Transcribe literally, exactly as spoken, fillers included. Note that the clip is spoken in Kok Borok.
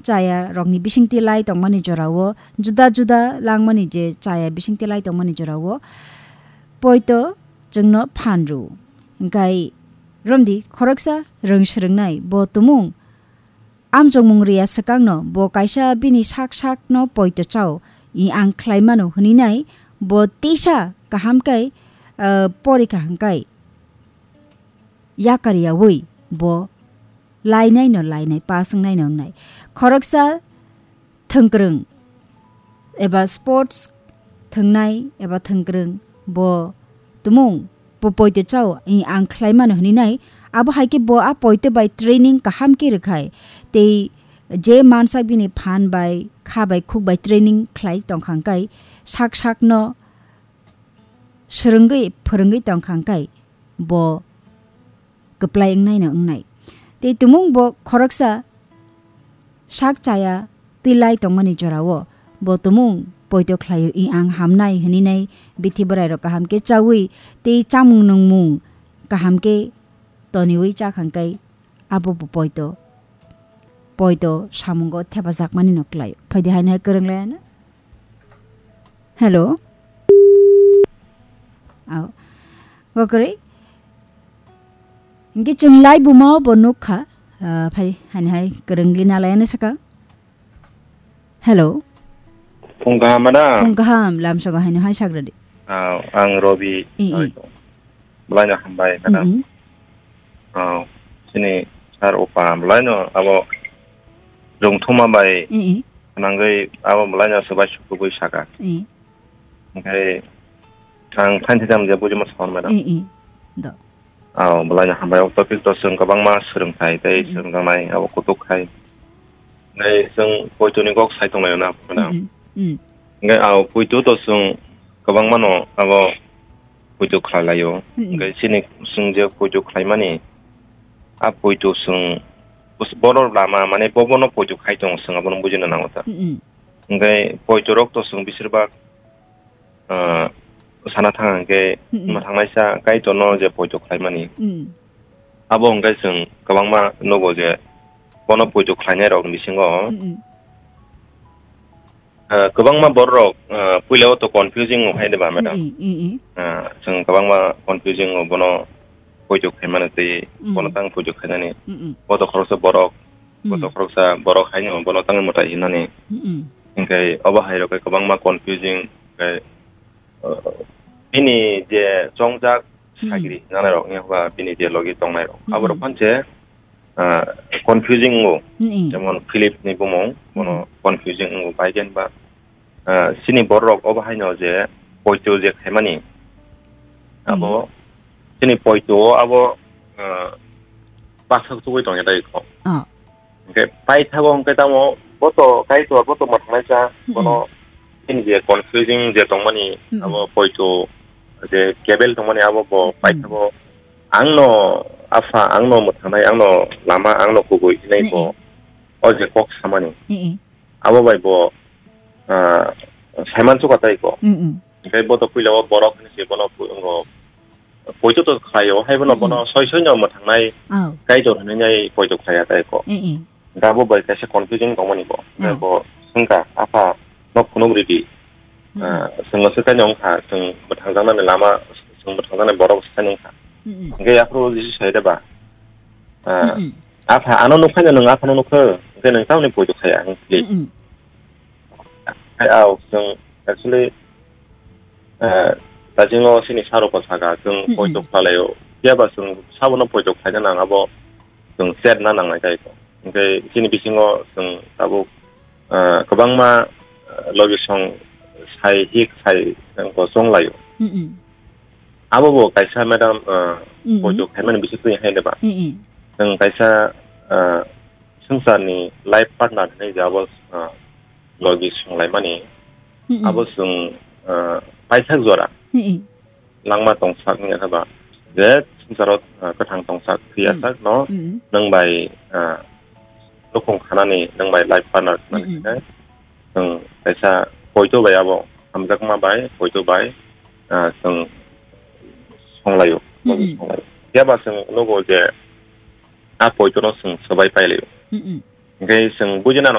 chaya rokni bisingtwi lai tongmani jorao, juda juda langmani je chaya bisingtwi lai tongmani jorao poito chwngno phan rw. Hwnkhe romdi khoroksa rwng swrwngnai bo tumung amjokmung riya swkangno bo kaisa bini sak sakno poito chao i ang khlai mano hwnwi nai bo tisa kaham khe, ah, porikha hwnkhe yakar yaui bo lainai no lainai, pass wngnai no wngnai. Khoroksa thwngkwrwng eba sports thwngnai eba thwngkwrwng bo tumung bo poito chao i ang khlai mano hwnwi nai. Abo hai khe bo a poito bai training kaham khe rwkhai tei je mansak bini phan bai kha bai khuk bai training khlai tongkha hwnkhe sak sakno swrwngwi phwrwngwi tongkha hwnkhe bo kwplai wngnaino wngnai. Tei tumung bo khoroksa sak chaya twi lai tongmani jorao bo tumung poito khlaio i ang hamnai hwnwi nai bithi bwrairok kaham khe chaui tei chamung nungmung kaham khe toniui chakha hwnkhe abo bo poito, poito samungo thepajakmani no klai. Phaidi haino hai kwrwng laiano. Hello. Au. Gokri. Hingke chwng lai buma bo nukha. Ah, phai, haino hai kwrwng lina laiano saka. Hello. Phung kaham, madam? Phung kaham, lamsogo haino hai sagradi. Ah, ang Robi. I, i. Belai no hambai, madam. Mm-mm. Oh, chini sir opa belai no abo rwngthoma bai I, i. Nangwi abo belai no swbai sukubui saka. I. Hingke ang phainthi jam je bujima sor, madam. I, i. Do. Oh, belai no hambai, o topic to chwng kwbangma swrwngthai tei Mm, mm. Swrwngjaknai abo kutuk khai. Nai chwng poito ni kok sai tonglaio na, madam. Mm, mm. Mm. Hingke, ah, poito to chwng kwbangma no abo poito khlai laio. Mm, mm. Hingke chini chwng je poito khlaimani, a poito chwng bos-, borok lama, mane, bo bono poito khai tongo, chwng abono bujina nango ta. Mm, mm. Hingke poito rok to chwng bisir bak, ah, sana thang hingke Mm, mm. Ma thangnaisa Kaitorno je poito khlaimani. Mm. Abo hingke chwng kwbangma nugo je bono poito khlainai rokni bisingo, Mm, mm. Ah, kwbangma bororok, ah, puila o to confusing o hai de ba, madam? Mm, mm, mm, mm. Ah, chwng kwbangma confusing o bono poito khaimano tei Mm. Bono tang poito khainani. Mm, mm. Bo to khoroksa borok, Mm. Bo to khoroksa borok haino bono tang mwtai hinani. Mm, mm. Hingke obo hai rok kwbangma confusing, hingke, ah, bini je chongjak Hmm. Sagri nanai rok, wngya ba bini je logi tongnai rok. Hmm. Abo rok phan se, ah, confusing o. Hmm. Jemon Philip ni bumung, bono Hmm. Confusing o, bai gen ba, ah, chini borok rok obo haino je poito je khaimani. Hmm. Abo chini poito o abo, ah, baksa tugui tongya dai kho. Oh. Hingke paithago hingke tamo boto Kaitor boto mwthangnaisa Mm-mm. Bono chini je confusing je tongmani Mm-mm. Abo poito je kebel tongmani abo bo Mm-mm. Paithago angno Apha angno mwthangnai angno lama angno kubui hinai bo Mm-mm. O je kok samani Mm-mm. Abo bai bo, ah, saiman chuka tai ko. Mm-mm. Hingke boto puila o borok hinui se bono pu-, ongo poito to khlaio, hai bono Mm-mm. Bono soi soi no mwthangnai Oh. Kaitor hinui nai poito khlaiya tai ko. Mm-mm. Da bo bai kaisa confusing tongmani bo. Oh. Bo sungka, "Apha, no phunuk ridi." Mm-mm. Ah, chwngno swkhaino wngkha, chwng mwthangjaknani lama, chwng mwthangjaknai borok swkhaino wngkha. Mm-mm. Hingke yaphuru Jisu sai de ba? Ah, Mm-mm. "Apha, ano nukhaino nwng aphano nukho, hingke nwng tamoni poito khaya," hing phili. Mm-mm. Hai, ao, chwng actually, eh, daijingo chini sir rok bo saka, chwng Mm-mm. Poito khlalaio. Phiya ba chwng sabono poito khlaina nang abo chwng chat na nangnai tai ko. Hingke chini bisingo chwng tabuk, eh, kwbangma, eh, logi song sai hik sai chwng bo chonglaio. Mm-mm. Abo bo kaisa madam, eh, Mm-mm. Poito khaimani bisingtwi hai de ba. Mm-mm. Chwng kaisa, eh, swngcharni life partner hinui je abo, ah, logi swnglaimani, Mm-mm. Abo chwng, ah, paithak jora Mm-mm. Langma tongsak wngya khe ba, je swngcharo, ah, kwthang tongsak, thwiyasak Mm-mm. No Mm-mm. Nwng bai, ah, nukhung khanani, nwng bai life partner khanani Mm-mm. Khe, chwng kaisa poito bai abo, hamjakma bai, poito bai, ah, chwng songlaio, logi Mm-mm. Songlaio. Phiya ba chwng nugo je, a poito no chwng swbai pailai. Mm-mm. Hingke chwng buji nang